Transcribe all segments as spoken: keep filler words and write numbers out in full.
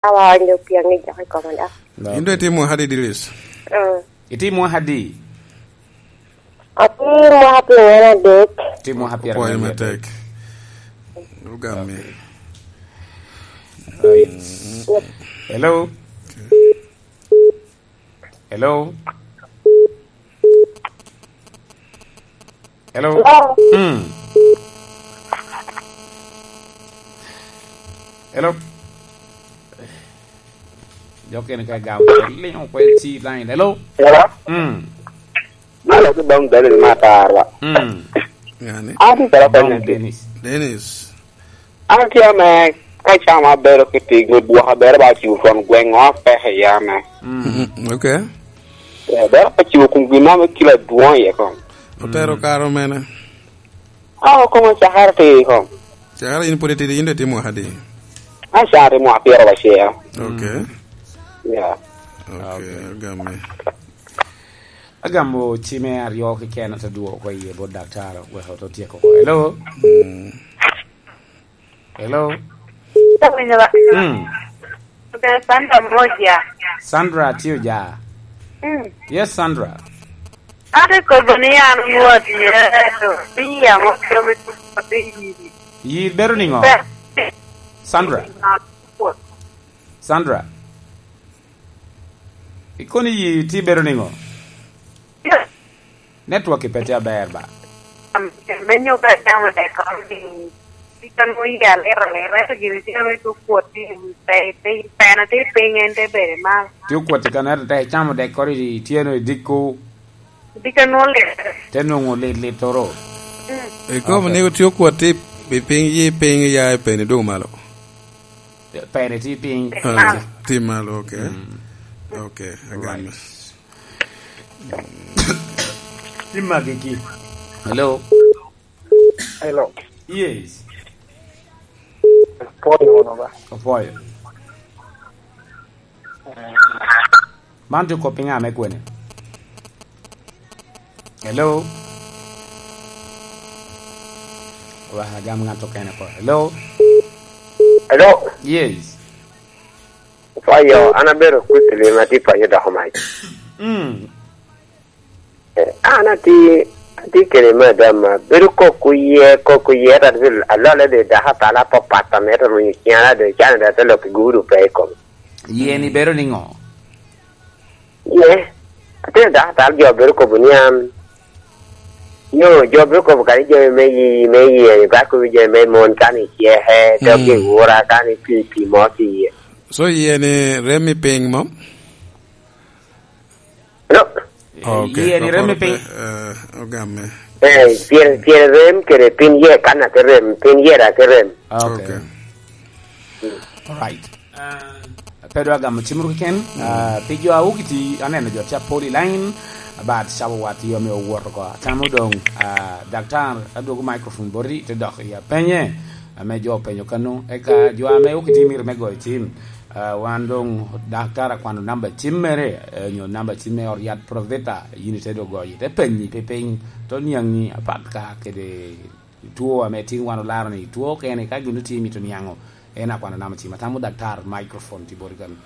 Awa onyo piaŋ i jok i koma da. Yin do itimo hadi, Idris? Mm. Itimo hadi? Atimo hadi ŋen adek. Timo hadi Pwoyo matek. Ugame. Right. Hello? Hello? Hello? Hello? Mm. Hello? Jok kene ka gam, linyo kwe ti line. Hello? Hello? Mm. Malo ki dong Dennis Matarwa. Mm. Yani. Ati kala Dong kwenye. Dennis. Dennis. An tye ame ka cam abedo ki tic me bwok, abedo ba ciwo twon gweŋo apeke ya me. Mm. Mm, okay. Eh, bero ka ciwo kum gin mo me kilo adwoŋ iye kom. Otero karo mene? Ah, okoma cakere ti kom. Cakere in pwod itidi, in do itimo adi? An cakere timo apiro wacel. Okay. Yeah. Okay, okay. Agamo cime aryo keken ate dwoko iye bot daktari, wek oto tyeko oko. Hello? Mm. Hello? Awinyo ba? Mm. Okay, Sandra Moja. Sandra tye oja. Mm. Yes, Sandra. Ate kobo ni an nwodo Yecu, ni yamo kelo me tuko piny yiri. Yir bedo niŋo? Sandra. Sandra. Ikono iyi tye bedo niŋo? Network pe tye aber ba? Me nyuka camo dek kong ni, tika nwo yi aliro aliro, ento gini tye me tukwot ni, pe, pe, pena tye piny, en te bedo malo. Tye okwot i kanata te icamo dek kori i tyeno i dikko. Tika nwo lit. Te nwoŋo lit lit toro. Mm. Ikobo ni tye okwot tye i piny, yi piny ya i peni dong malo. Pene tye piny. Ah, tye malo, okay. Mm. Okay, agame. Right. Tye magi ki. Hello? Hello. Yes. Apwoyo wunu ba. Apwoyo. Eh. Man tye kop i ŋa me kwene? Hello? Wa, agam ŋat okene ko. Hello? Hello? Yes. Payo, an abedo Quickly ma tye payo doko mac. Mm. Eh, an ati, ati kede madam, bedo koko ye, koko ye, ta alole de daka tala papat, ta mete runyo kiana de, cana de te lok i gudu pe i kom. Ye ni bedo ni ŋo? Ye, ati daka tal jo bedo kobo ni an, yo, jo bedo kobo kadi jo me yi, me yi, ni ba kobo jo me mon kan i ceke, dok i wura kan i pi, pi mo ti ye. So ye ni rem i piny mo? No. Okay, yie ni rem i piny. Eh, ogamme. Eh, pien, pien rem kede piny ye kan ake rem, piny ye da ake rem. Okay. Okay. All right. Ah, pe dwa gamo cim ru keken. Ah, pi jo a okiti, aneno jo tye apol i line, but cawa wat yo me owot oko. Atamo dong, ah, daktar, adwogo microphone boti, te dok i apenye, ame jo openyo kano. Eka jo ame okiti mito me goyo cim. Ah, wan doŋ daktar akwano namba cim mere, eh, nyo namba cim me ot yat Proveta, yin ite doŋ goyo, ite penyi pi piny, to niaŋi apat ka kede two ame tin wan olaro ni two okene, ka gin otye mito niaŋo, en akwano namba cim. Atamo daktar microphone tye boti kano.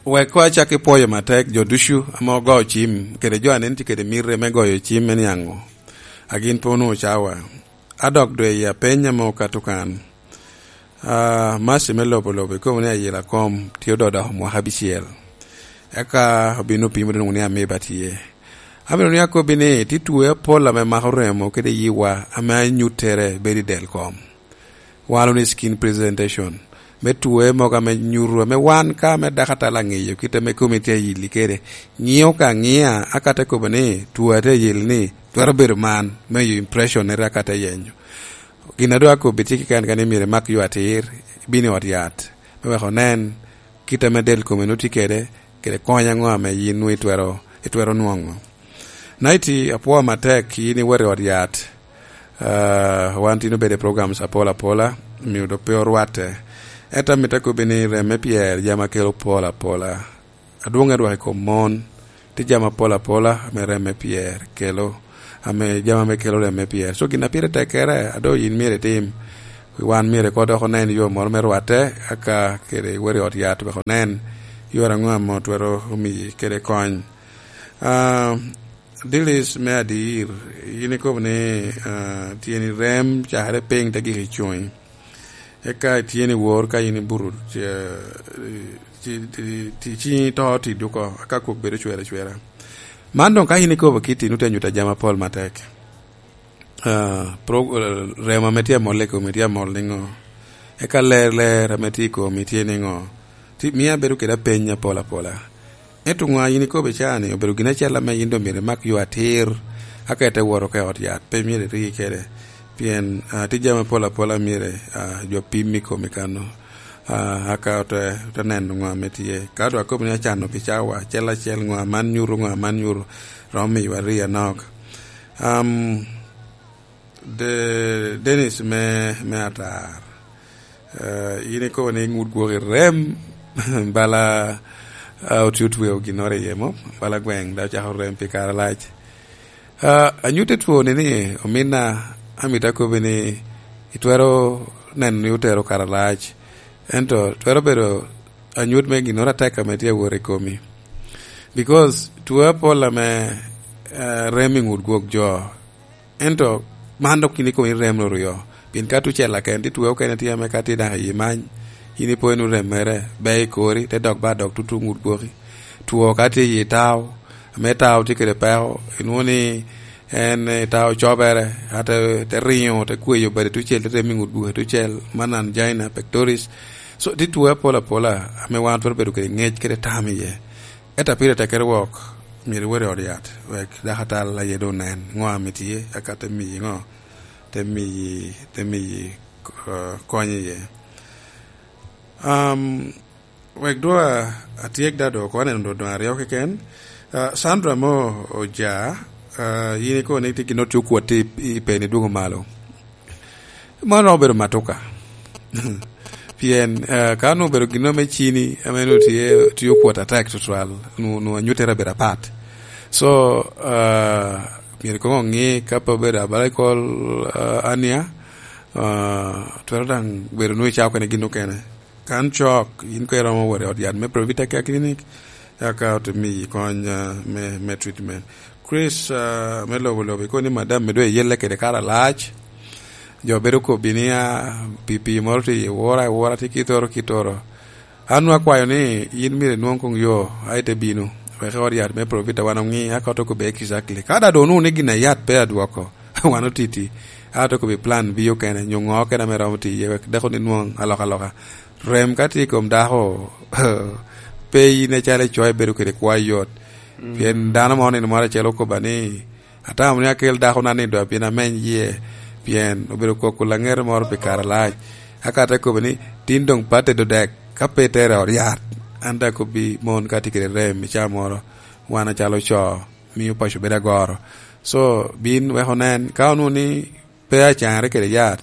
Wek koŋ acak ki pwoyo matek jo ducu ame ogoyo cim, kede jo a nen tye kede miti me goyo cim me niaŋo, a gin pe onwoŋo cawa. A dok doŋ i apeny ame okato kan. Ah, Mercy me lobo lobo, ikobo ni ayela kom tye ododoko mwaka abicel. Eka obino pimo doŋ ni amiba tye. Amito ni akobbi ni, tye two apol ame mako remo kede yiwa ame anyuttere bedo i del kom. Walo ni skin presentation. Me two mogo ame nyuto, ame wan ka ame dako atala ŋeyo, kit ame komi tye ayili kede. Ŋio ka ŋia, aka te kobo ni, two atye ayil ni, twero bedo man, me yo impression nere aka te yenyo. Gin a doŋ akobbi tye keken kene myero imak yo atir, ibin i ot yat, me wek onen kit ame del kome nwoŋo tye kede, kede kony aŋo ame yin nwoŋo itwero, itwero nwoŋo. Naiti, apwoo matek yin iwot i ot yat. Ah, wan tin obedo i programs apol apola, omio dok pe orwatte. Ento amito akobbi ni rem me pyer jami a kelo pol apola. Adwoŋ adwoko i kom mon, tye jami apol apola ame rem me pyer kelo, ame jami ame kelo rem me pyer. So gin a pire tekkere, a doŋ yin myero itim, Wan myero ko dok onen yo moro me rwatte, aka kede weri ot yat wek onen yore aŋo ame twero omiyi kede kony. Ah, Dilis me adir, yin ikobo ni, ah, tyeni rem cakere piny te gik i cuny. Eka ityeni wor ka yin ibuto, eh, ti, ti, ti, ti, ciŋi to ti duko, aka kwok bedo cwere cwera. Man doŋ ka yin ikobo kitti, nu te nyuto jami apol matek. Ah, pro-, eh, remo ame tye amol i komi tye amol niŋo? Eka ler, ler ame tye i komi tye niŋo? Ti-, mio abedo kede apeny apol apola. Ento ŋo a yin ikobo i caa-ni obedo gin acel ame yin doŋ myero imak yo atir, aka ite wot oko i ot yat, pe myero iriki kede. Pien, ah, tye jami apol apola myero, ah, jo pim i komi kano. Ah, aka ote, ote neno ŋo ame tye. Ka doŋ akobo ni acano pi cawa acel acel, ŋo aman nyuto, ŋo aman nyuto, romo miyowa ri anok. Am, De-, Dennis me, me Atar. Eh, yin ikobo ni ŋut gwok i rem, bala, ah, otye otweo ginnoro iye mo, bala gweŋ, dok ocako rem pi kare alac. Ah, anyut i twoni ni, ominna, amito akobbi ni itwero neno ni otero kare alac, ento twero bedo anyut me ginnoro atek ame tye awot i komi. Because two apol ame, eh, rem i ŋut gwok jo, ento man dok yin ikobo ni rem oryo. Pien ka tucel aken, ti two okene tye ame ka tye daŋ i many, yin ipo inu rem mere, be i kori, te dok ba dok tutu ŋut gwoki. Two ka tye i tao, ame tao tye kede peko, inwoŋo ni en, eh, tao cobere, ate, te riŋo, te kweyo bade tucel, te rem i ŋut gwoki tucel, man angina pectoris. So, tye two apol apola, ame wan twero bedo kede ŋec kede tam iye. Ento pire tekere wok, myero iwot i ot yat, wek dakatal aye doŋ onen ŋo ame tye, eka te miyi ŋo, te miyi, te miyi, eh, kony iye. Am, wek doŋ a-, atyek da doŋ, oko aneno doŋ, doŋ aryo keken. Ah, Sandra mo oja, ah, yin ikobo ni tye gin oti okwot i, i peni dwogo malo. Man romo bedo matuka. Pien, eh, ka onwoŋo obedo gin ame cini, ame onwoŋo tye, tye okwot atek tutwal, onwoŋo, onwoŋo anyuttere abedo apat. So, eh, myero koŋ oŋi ka pe obedo abala i kol, eh, ania, eh, twero daŋ bedo onwoŋo icako kene gin okene. Kan cok, yin koŋ iromo wot i ot yat me Provita Care Clinic, eka ote miyi kony, eh, me, me treatment. Chris, ah, me lobo lobo, ikobo ni madam me doŋ eyelle kede kare alac. Jo bedo kobbi ni, ah, pi pii moro tye i wora, i wora tye kitoro, kitoro. An nwoŋo akwayo ni yin myero inwoŋ koŋ yo, a ite bino, wek i ot yat me Provita wan oŋi, aka ote kobbi exactly. Ka da doŋ onwoŋo ni gin a yat pe adwoko, wan otiti, a ote kobbi plan B okene, nyo ŋo okene ame romo tiye, wek dako ni nwoŋ alokaloka. Rem ka tye i kom dako, pe yin acalo icoyo ibedo kede kwayo yot. Mm. Pien dano mo nino moro acel okobba ni, "Atamo ni akel dakona ni doŋ abin ameny yie, pien obedo koko laŋete moro pi kare alac." Aka te kobbe ni, "Tin doŋ pe atedo dek, ka pe itere i ot yat, an daŋ akobbi mon ka tye kede rem i caa moro, wan acalo co, mio paco bedo agoro." So, bin wek onen, ka onwoŋo ni pe acaŋere kede yat,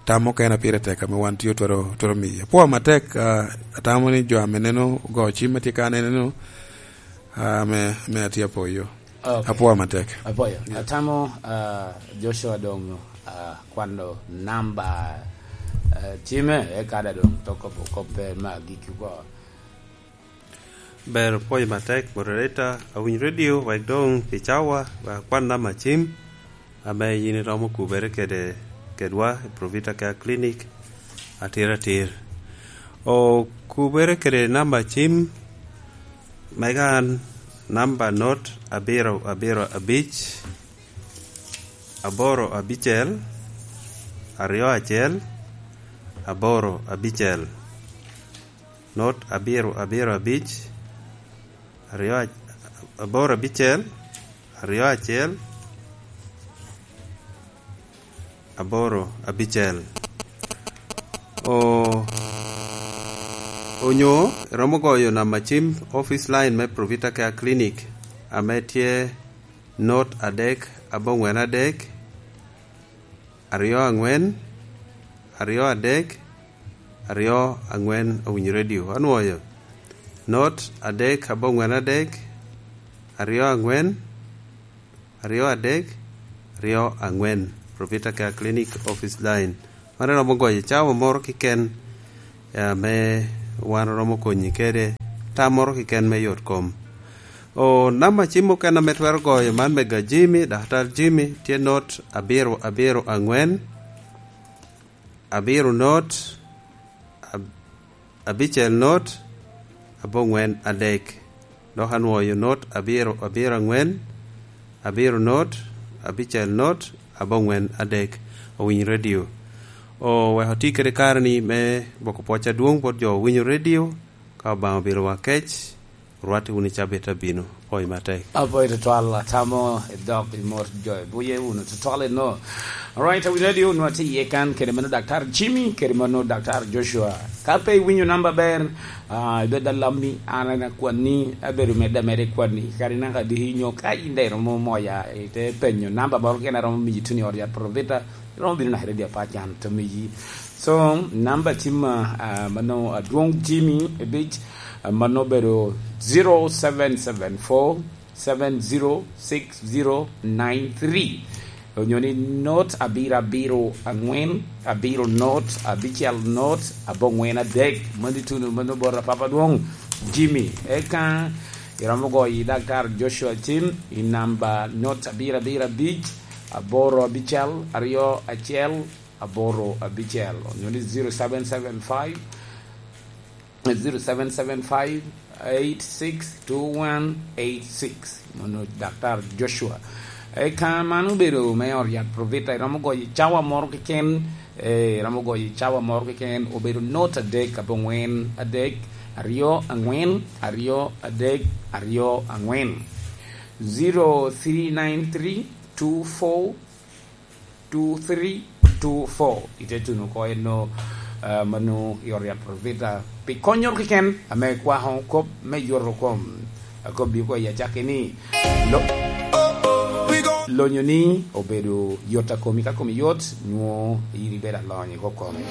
tam okene pire tek ame wan tye otwero, twero miye. Apwoyo matek, ah, atamo ni jo ame neno ogo cim ma tye ka neneno, ah, ame, ame atye apoyo. Ok. Apwoyo matek. Apoyo. Yeah. Atamo, ah, Joshua doŋ, ah, kwano namba, ah, cime, eka da doŋ toko koppe me agikki oko. Ber, pwoc matek, moderator, awiny radio, wek doŋ pi cawa, wek akwan namba cim, ame yin iromo kubere kede, kedwa, i Provita Care Clinic, atir atir. O kubere kede namba cim, mega an, namba not abiro abiro abic, aboro abicel, aryo acel, aboro abicel. Not abiro abiro abic, aryo ac-, aboro abicel, aryo acel, aboro abicel. O-, onyo iromo goyo namba cim office line me Provita Care Clinic, ame tye not adek aboŋwen adek, aryo aŋwen, aryo adek, aryo aŋwen, awinyo radio, anwoyo. Not adek aboŋwen adek, aryo aŋwen, aryo adek, aryo aŋwen. Provita Care Clinic office line. Man iromo goyo i cawa moro keken, eh, ame wan oromo konyi kede tam moro keken me yot kom. O, namba cim mukene ame twero goyo, man mega Jimmy, Daktar Jimmy, tye not abiro abiro angwen, abiro not, ab-, abicel not, abongwen adek. Dok anwoyo not abiro abiro angwen, abiro not, abicel not, abongwen adek. Owiny radio. O, wek oti kede kare ni me boko pwoc adwoŋ bot jo owinyo radio, ka Obaŋa obilo wa kec, orwatti wunu i cabit abino. Pwoc matek. Apwoyo tutwal, atamo i dok i mot jo ibuye wunu tutwal eno. Alright, wi radio wunu atye iye kan, kede mano Daktar Jimmy, kede mano Daktar Joshua. Ka pe iwinyo namba ber, ah, ibed alammi, an en akwanni, abedo medde ameda i kwanni. Kadi naka diki nyo ka in daŋ iromo moya, ite penyo namba moro kene aromo miyi tuno i ot yat Provita, iromo bino naka i radio apacan to miyi. So, namba tim, ah, mano adwoŋ Jimmy Ebic, ah, mano obedo zero seven seven four, seven zero six zero nine three. Onyo ni not abiro abiro angwen, abiro not, abicel not, abongwen adek. Mano ituno, mano bot Papa Dwong Jimmy. Eka iromo goyo i Daktar Joshua Cim i namba not abiro abiro abic, aboro abicel, aryo acel, aboro abicel. Onyo ni zero seven seven five, zero seven seven five eight six two one eight six. Mano Daktar Joshua. Eka mano obedo me ot yat Provita, iromo goyo i cawa moro keken, eh, iromo goyo i cawa moro keken, obedo not adek, abongwen adek, aryo angwen, aryo adek, aryo angwen. Zero three nine three two four two three two four. Ite tuno oko eno, ah, mano i ot yat Provita. Pi konyo keken, ame kwako kop me yoto kom. Akobbi oko i acakki ni, lo-, lonyo ni obedo yot a komi, ka komi yot, nwo iri bedo alony i kop komi.